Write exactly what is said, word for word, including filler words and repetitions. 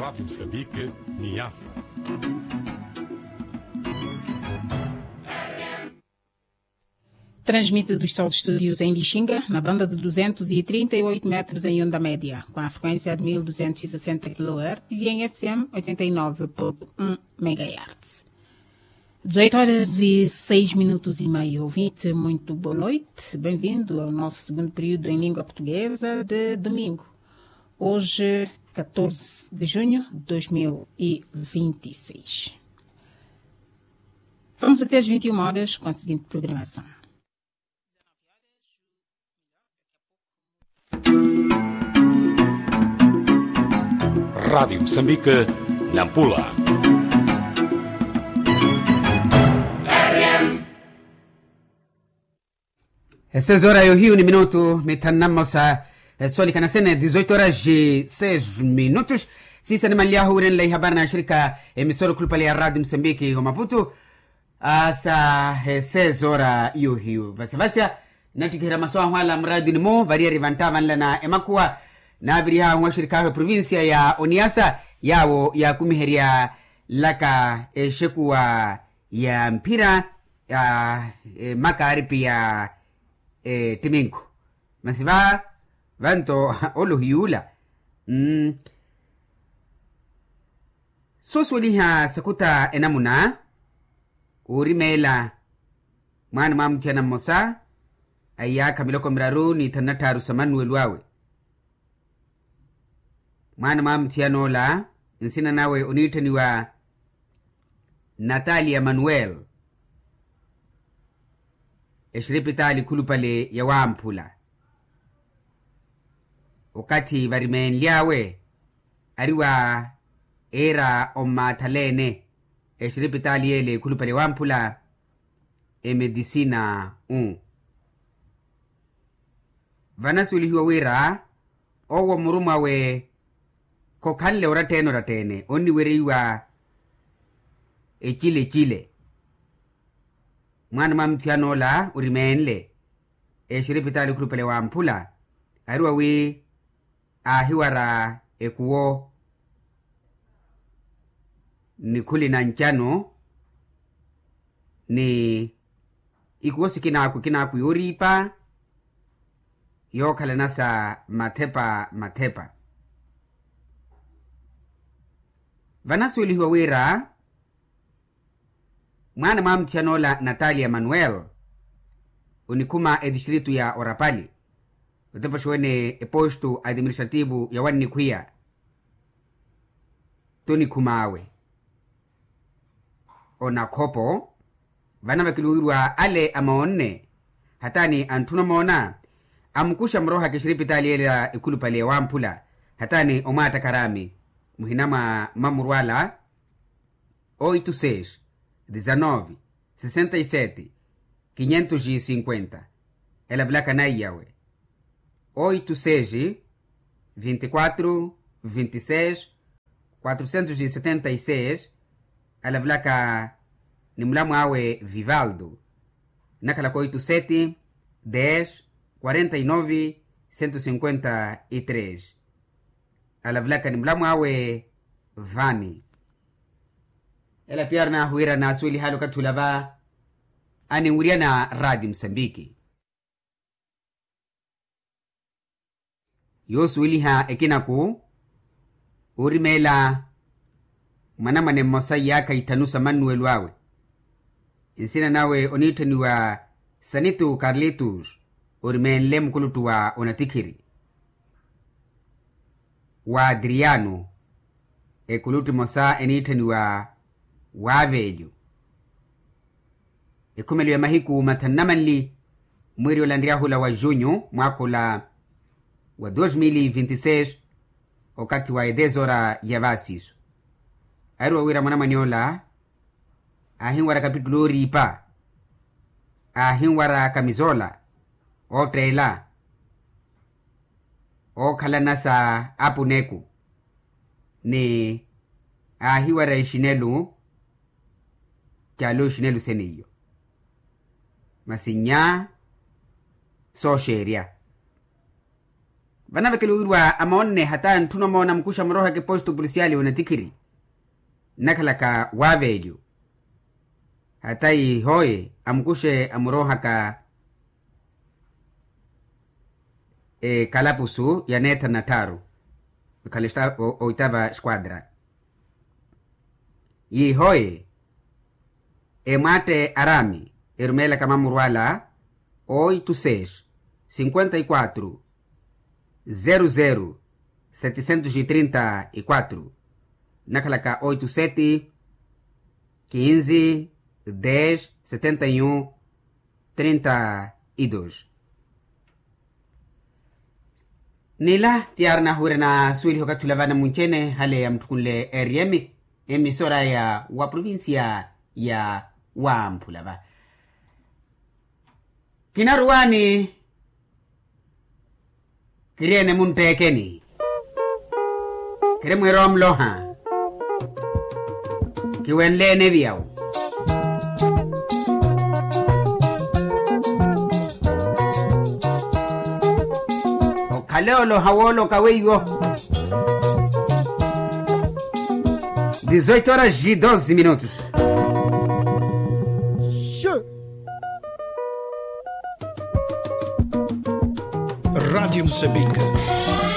Rádio Moçambique, Niassa. Transmite dos seus estúdios em Lixinga, na banda de duzentos e trinta e oito metros em onda média, com a frequência de mil duzentos e sessenta quilohertz e em F M oitenta e nove ponto um megahertz. Dezoito horas e seis minutos e meio. Ouvinte, muito boa noite. Bem-vindo ao nosso segundo período em língua portuguesa de domingo. Hoje, catorze de junho de dois mil e vinte e seis. Vamos até às vinte e uma horas com a seguinte programação. Rádio Moçambique, Nampula. E seis horas yohiyu ni minutu mithanu na mmosa, e soolikana sene, dezoito horas e seis minutos. Siisa nimanly'ahu wiirenle ihabari na axirika emisoro khulupale ya Rádio Moçambique o Maputo. Asa, e seis horas yohiyu vasavasa nattikiherya masu ahu ala muraatini-mu variyari vantta vanlana emakhuwa. Naavirih'ahu axirik'ahu eprovincia ya oniasa yaawo yaakumihery'alaka exekuwa ya mphira ya makaaripi ya ettiminku. Masi va vanto olohiy'ula. Soosuweliha sakuta enamuna oorimeela mwaana mwa muthiyana mmosa a iyaakha miloko miraru ni thanu na tthaaru sa manuwelo awe. Mwaana mwa muthiyan'ola nsina nawe oniitthaniwa natalia manuel, exiripitaali khulupale ya wamphula. Okathi varimeenly'awe ari wa eera ommaathalene exiripitaali y'ele khulupale ya wamphula emedisina u. Vanasuwelihiwa wira owo murumwawe khokhanle oratta-ene oratta-ene onniwereiwa ecile-cile. Mwaana mwa muthiyan'ola orimeenle exiripitaali khulupale wamphula ari wa wi aahiwara ekuwo nikhuli na ncano ni ikuwo sikinaaku kinaaku yooriipa yookhalana sa mathepa mathepa. Vanasuwelihiwa wira mwaana mwa muthiyan'ola natalia manuel onikhuma etistritu ya orapali otepoxiwene epostu administrativu ya wannikhwiya. Tunikhum'awe onakhopo vana vakiluwiwa ale amoonne hataani antthuna omoona amukuxa murohaka exiripitaali ele ya ekhulupale ya wamphula hataani omwaattakaraami muhina mwa mamurwala oito seis dezanove sessenta e sete quinhentos e cinquenta. Ela vulaka naiyawe oito seis vinte e quatro vinte e seis quatrocentos e setenta e seis. Ela vulaka ni mulamu awe vivaldo nakhalaka oito sete dez quarenta e nove cento cinquenta e três. Alavulaka ni mulamu awe vani. Ela piya ari nahuwira naasuweli hali okathi ula va aninwirya na raati musambiki. Yoosuweliha ekinaku oorimeela mwanamwane mmosa iyaakha ithanu sa mannuwelo awe. Nsina nawe oniitthaniwa sanitu karlitus orimeenle mukuluttu wa onatikhiri wa adriano. Ekuluttu emosa eniitthaniwa wavelyo. Ekhumelo ya mahiku mathanu na manli mwiiri olanryahula wa junyu mwaakha ola wa dos mil e vinte e seis okathi wa edez ora ya vaasiso. Ahiruwa wira mwanamwane ola aahinwara kapitulu ooriipa aahinwara kamizola ootteela ookhalana sa apuneku ni aahiwara exinelu. Caala oxinelu seniyo masi nnya sooxeerya. Vana vekeliwirwa amoonne hata ntthuna omoona amukuxe amurohaka eposto polisiali onatikhiri nnakhalaka waaveelyo. Hata ihoye amukuxe amurohaka ekalapusu ya neethanu na tthaaru. Ekhala oitava esquadra yiihoye emwaatte araami erumeelaka mamuru ala oito seis cinquenta e quatro zero zero setecentos e trinta e quatro nnakhalaka oito sete quinze dez setenta e um trinta e dois. Nila tiyaari nahuwira nasuweliha okathi ula vana munci-ene hale ya mutthukunle eriyemi emisora ya wa provincia ya wamphula va. Kinaruwani kiri ene muntt'ekeni kiri mwiira omloha kiwenle ene viyawu. Okhale oloha wooloka weiwo. Dezoito horas e doze minutos. Rádio Moçambique.